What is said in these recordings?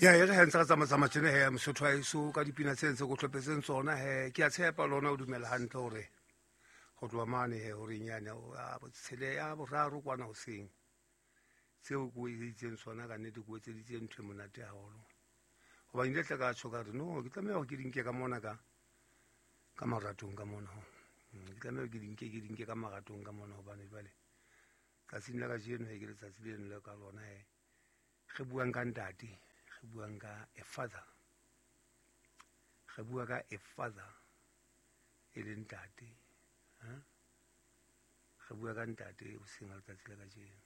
Ya e re ha ntse re tsamatsamaya tjena he, Mosotho wa heso, ka dipina tse ntse ko hlopetseng tsona he, ke a tshepa lona o dumela hantle hore go tloha mane he horeng yane ya botshele ya boraro kwana hoseng, tseo ko etseditseng tsona ka nnete, ko etseditse ntho e monate haholo, hobane ile tla ka tjho ka re no, ke tlameha hore ke di nke ka mona ka maratong ka mona. Ke tlameha ke di nke, ke di nke ka maratong ka mona, hobane jwale tsatsing la kajeno he ke letsatsi leno le ka lona he re buang ka ntate, re buang ka a father, re bua ka a father e leng ntate. Re bua ka ntate hoseng ha letsatsi la kajeno.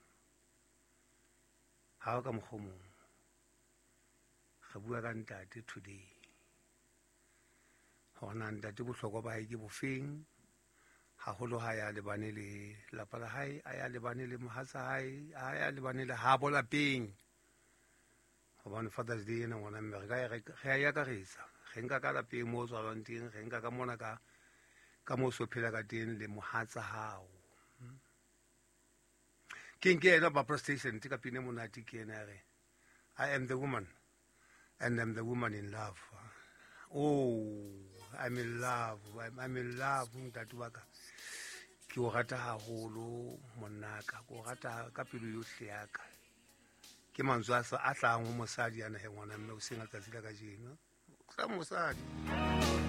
Ha o ka mokgwa o mong, re bua ka ntate today, hore na ntate bohlokwa ba hae ke bofeng haholo ha ya lebane le lapa la hae, a ya lebane le mohatsa hae, a ya lebane le habo lapeng, hobane Father's Day ena, ngwana mme, re ka re a e akaretsa, re nka ka lapeng moo o tswalwang teng, re nka ka mona ka moo so phela ka teng le mohatsa hao. Ke nke ena Barbara Streisand ka pina e monate, ke ena ya re, "I am the woman and I'm the woman in love." Oh, I'm in love, I'm in love. Ntate wa ka, ke o rata haholo, monnaka, ke o rata ka pelo yohle ya ka. Ke mantswe a hlahang ho mosadi ana he, ngwana mme, o seng letsatsi la kajeno tla mosadi.